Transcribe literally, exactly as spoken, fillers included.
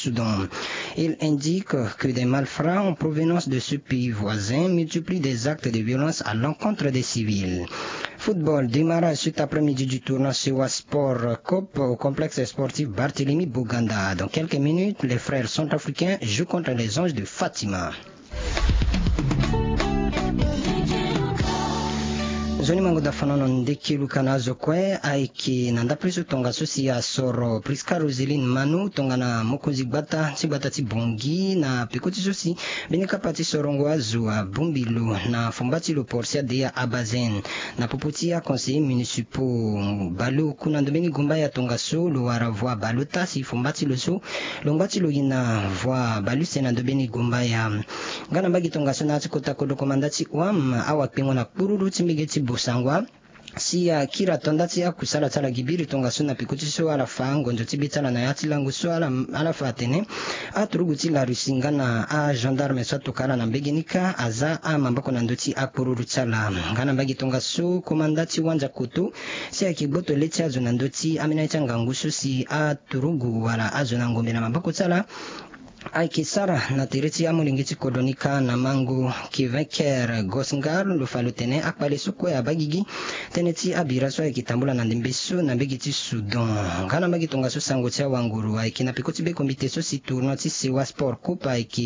Soudan. Il indique que des malfrats en provenance de ce pays voisin multiplient des actes de violence à l'encontre des civils. Football, démarrage cet après-midi du tournoi Sewa Sport Cup au complexe sportif Barthélemy Boganda. Dans quelques minutes, les frères centrafricains jouent contre les anges de Fatima. Nzoni mango da fana na ndekelu kana zo kue ayeke na ndapre so tongaso si asoro Prisca Roseline Manu tongana mokonzi gbata ti gbata ti Bongi na peko ti so si mbeni kapa ti sorongo azo abongbi lo na fomba ti lo Portia Deya Abazen na popo ti aconseiller municipaux baleoku na ndo mbeni gumbaya tongaso lo wara voie baleota si fomba ti lo so lo ngba ti lo gi na voie baleuse na ndo mbeni gumbaya. Nga na mbage tongaso na ya ti kota kodro komanda ti wam awakpengo na kpururu ti mbege ti bosangwa si akiri atonda ti akusala ti ala gi biri tongaso na peko ti so ala fa ngonzo ti be ti ala na ya ti lango so ala ala fa atene aturugu ti la Russie nga na agendarme so atoka ala na mbege ni kâ aza amaboko na ndö ti akpururu ti ala. Nga na mbage tongaso komanda ti wanza koto si ayeke gboto le ti azo na ndö ti ambeni aye ti angangu so si aturugu wala azo na ngombe na maboko ti ala ayeke sara na tere ti amolenge ti kodro ni kâ na mango Kevin Kerr Gosngar lo fa lo tene akpale so kue abaa gigi tënë ti abira so ayeke tambula na ndembe so na mbege ti Soudan. Nga na mbage tongaso sango ti awanguru ayeke na peko ti be komite so si tournoi ti Sewa Sport Cup ayeke